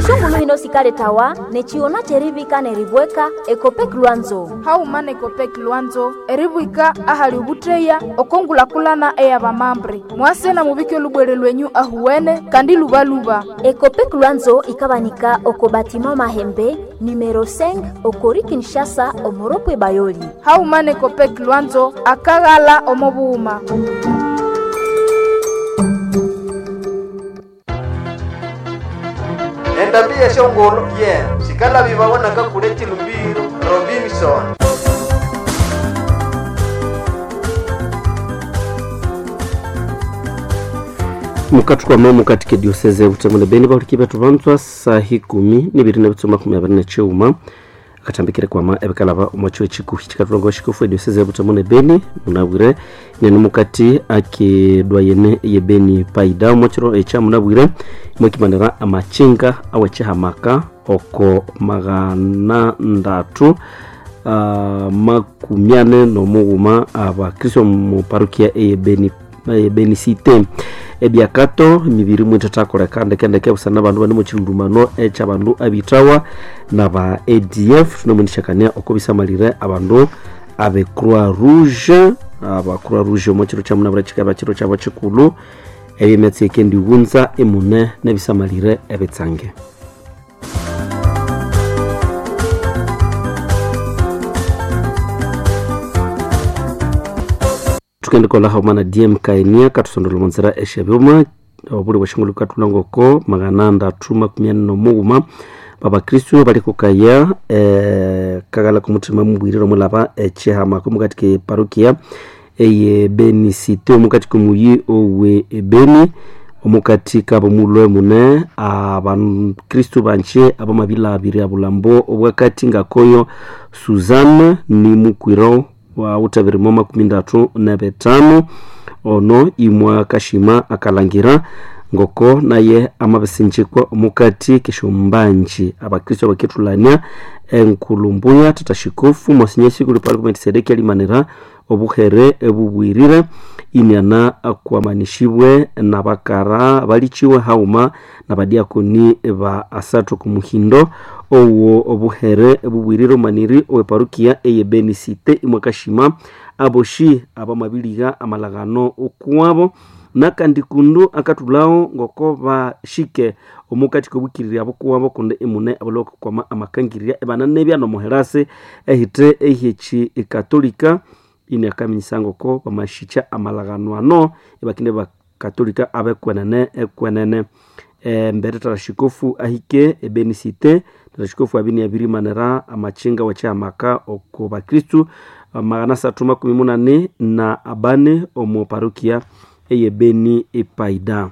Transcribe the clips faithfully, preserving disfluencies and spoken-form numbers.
Eshongulu hino sikaletawa nechiona cherivika neribweka Ekopek Lwanzo. Hauma nekopek Lwanzo eribwika ahali ubutreya okongulakulana eyabamambre mwase na mubike olubwere lwenyu ahuwene kandi lubaluba. Ekopek Lwanzo ikabanika oko batima Mahembe numero cinq okori Kinshasa omoropwe Bayoli. Hauma nekopek Lwanzo akaghala omobuhuma. Endambi yeshongolo ye sikala bibawonaka kule chilumbiro Robinson. Mukathukwama mukati diocese butembo beni bahuliki bethu banzwa sahi kumi nibiri na bitsuma makumi abiri na chiuma akathambikire kwama ebikalaba omwakyo ekikuhi kikatulonga oshikufu ediocese butembo ne beni munabwire nene mukati akedwayene ye beni paida omwakiro ekya munabwire mwakimanira amachinga awekihamaka oko magana ndatu uh, makumi ane nomughuma abakristo mu parokia eye beni eye cite ebyakato mibiri mwithathakoleka ndekendeke busana abandu bane muchilundumano ekyabandu abithawa naba A D F tunomwendishakania oko bisamalire abandu abe Croix Rouge aba Croix Rouge omo kiro kyamunabura kikaba kiro kyabo kikulu ebyemetsi ekendiwunza emune nebisamalire ebitsange. Tukendikola haumana D M Kainia katusondola monzera eshebyuma obuli bweshingulu katulangoko magana ndatu makumi ane nomughuma babakristu balikukaya eh, kagala kumutima mubwirire omulaba echihamako mukati ke parokia eye Beni Cité omukati komuyi owe Beni omukati kabo mulwe mune abakristu banche abamabila abiri abulambo obwakati ngakoyo Suzanne ni mukwiro wa utabirimo makumi ndatu na betano ono imwa kashima akalangira ngoko naye amabisinjikwa omukati keshombanji abakristo baketulania enkulumbuya tatashikofu mosinyesi kuli pali kumetisedeki alimanira obuhere ebubwirire iniana akwamanishibwe nabakara balichiwe hauma nabadiakoni ba asatu kumuhindo owo obuhere ebubwirire omaniri owe parukia eye Beni Cité imwakashima aboshi abamabiliga amalagano okuwabo nakandi kundu akatulao ngoko bashike omukati kobukirira abokuwabo kundi emune abaloko kwama amakangirira ebana nebya nomuherase ehite ehechi ekatolika ini akaminyisa ngoko bamashicha amalagano ano ebakinde bakatolika abekwenene ekwenene e, mbere tarashikofu ahike ebeni Cité tarashikofu abini abirimanira amachinga wachiamaka oko bakristu magana satu makumi munane na abane omu parokia eye Beni epaida.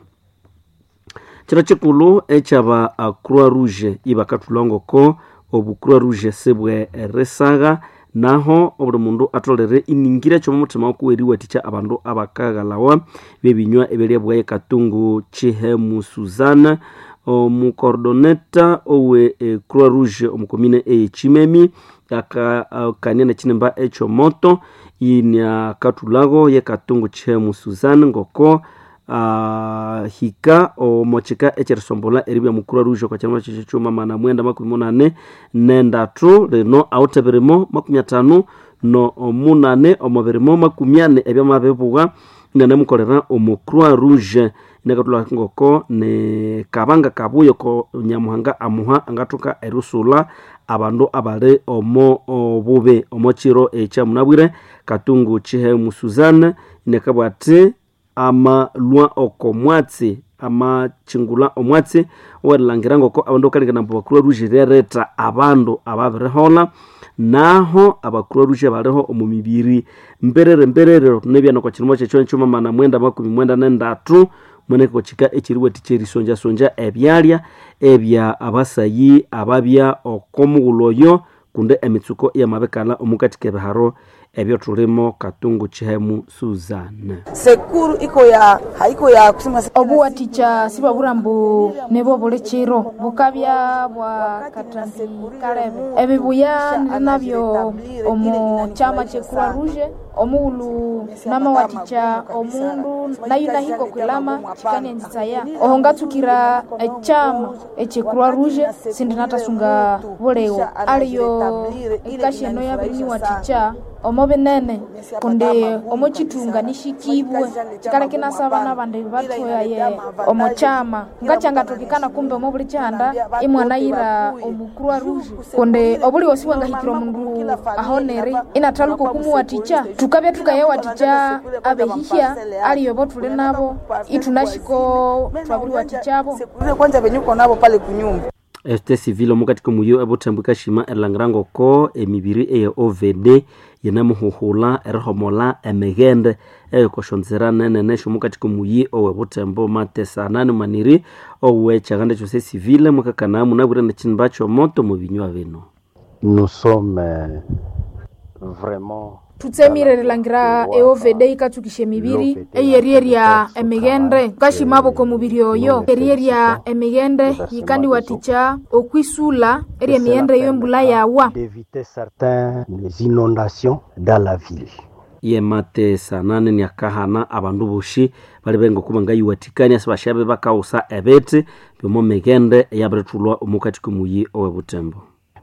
Kiro kikulu ekyaba Croix Rouge ibakathulangoko obu Croix Rouge sibwe resaga naho obuli mundu atolere iningira kyomu muthima okuweriwathikya abandu abakaghalawa bebinywa ebyalya katungu Chihemu Suzana omukordoneta owe e, Croix Rouge omukomine eyechimemi akakania nekinimba ekyomoto iniakathulago yekatungu Chihemu Suzana ngoko Uh, hika omochika echerisombola eribya mu Croix Rouge okwa kyama kyuma mana mwenda makumi munane nendatu lino awutebirimo makumi atano no munane omubirimo makumi ane ebyamabibuwa inanemukolera omu Croix Rouge inakatula ngoko ne kabanga kabuyo ko nyamuhanga amuha angathuka erusula abandu abali omo obubi omo kiro ekyamunabwire Katungu Chihemu Suzanne inakabwa ati amalwa oko mwatsi amachingula omwatsi owerilhangira ngoko abandu bakalengana ambu Croix Rouge ryaretha abandu ababiriholha naho aba Croix Rouge baliho omu mibiri mberere mberere nebyana okwa kirimo kyekyo kyuma mana mwenda makumi mwenda nendatu mweneko kika ekiriwathikya erisonjasonja ebyalya ebya abasayi ababya oko mughulhu oyo kundi emitsuko iyamabikalha omukati kebiharo ebyo tulimo Katungu Chihemu Suzanne. Sekuru iko ya haiko ya kusema obuwathikya sibabura mbu nibo buli kiro bukabya bwa katambi kalebe ebibuya niri nabyo omu kyama kye Croix Rouge Omughulhu namawathikya omundu nayo nahika okwilama kyikanyanzisaya. Oho ngatsukira ekyama ekye Croix Rouge sindinathasunga buligho. Aliyo ekasi eno yabiriniwathikya omo binene kundi omo kyithunga nishikibwe. Kyikaleka inasaba nabandi bathoyaye omo kyama. Ngakyangathokekana kumbe omo buli kyihanda imwanayira omu Croix Rouge kundi obuligho sibwangahikira omundu ahonere inathaluka okumuwathikya. Thukabya thukayawathikya abehihya aliyo abo thuli nabo ithunashiko thwabiriwathikyabo. Kwanza venye uko nabo pale kunyumba. Este civil omukati komuyo ebuthembo ikashima erilangira ngoko emibiri eye O V D yinemuhuhula erihomola emighende eyikoshonzera nenene syomukati komuyi owebuthembo matesanani maniri owekyaganda ekyose civil mwakakana munabwire nekyinimba kyomoto mubinywa bino. Nous sommes vraiment Thutsemire erilangira e O V D yikatsukisya emibiri eyeriyerya emighende. Thukashimabo okwamubiri oyo eriyerya emighende yikandiwathikya okwisulha eryemighende eyo embulha yawa. D'éviter certaines inondations dans la ville. Yematesanani niakahana abandu bosi bali ngoko bangayiwathikania sibasyabe bakawusa ebithi byomo mighende eyabirithulwa omukati komuyi owebuthembo.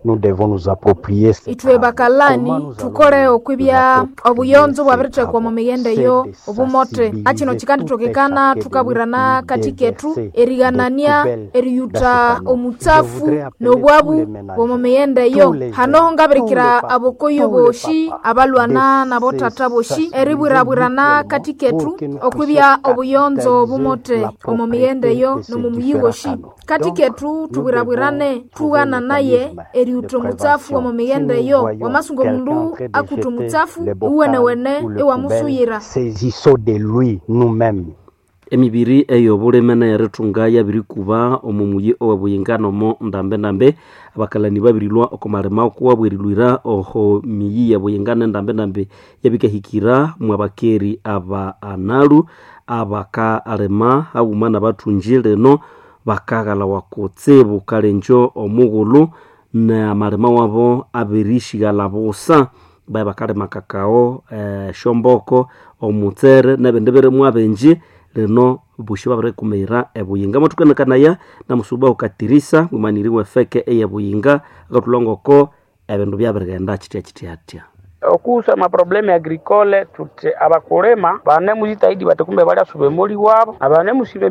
Nous devons nous approprier ces Ithwe travaux. bakalani Comment nous allons thukole nous okwibya approprier obuyonzo ces bwabirithekwa travaux? omu mighende C'est eyo de obumote. Akino sensibiliser tout un kikandithokekana chacun de nous thukabwirana pour kathi kethu déverser des erighanania poubelles dans ces eriyutha canaux. Je omutsafu voudrais appeler tous n'obwabu les ménagers, bw'omu mighende tous eyo. les Hanoho jeunes, tous les ngabirikira papas, abokoyo tous les boshi papas abalwana de nabothatha se boshi sensibiliser eribwirabwirana mutuellement kathi kethu pour que nous puissions okwibya obuyonzo capitaliser obumote la omu mighende propreté eyo de ces n'omu muyi différents woshi. canaux. Kathi Donc, kethu nous devons thubwirabwirane trouver un thughana naye mécanisme de eriyutha omutsafu prévention. omu Si mighende nous eyo. voyons Wamasunga quelqu'un en omundu train de akutha jeter omutsafu les bocals iwenewene ou les poubelles, iwamusuyira. saisissons de lui nous-mêmes. Emibiri ey'obulime neyerithunga yabirikuba omu muyi owebuyinga nomo ndambe-ndambe. Abakalani babirilwa oko malima okuwabwa erilwira oho miyi yebuyinga nendambe-ndambe yabikahikira mwabakeri aba analu abakalima haghuma nabathungi lino bakaghalawa kutsibu kalenjo omughulhu namalima wabo abirishighalha busa baye bakalima kakao, eh, shomboko, omutsere nebindi birimwa bingi lino bosi babirikumira ebuyinga. Mwathukenekanaya namusuba ukatirisa mwimaniri wefeke eyebuyinga akathulha ngoko ebindu byabirighenda kitya kitya. Okuhusu amaprobleme agricole tuti abakulima banemuzitahidi bati kumbe baliasuba emoli wabo abanemusiba.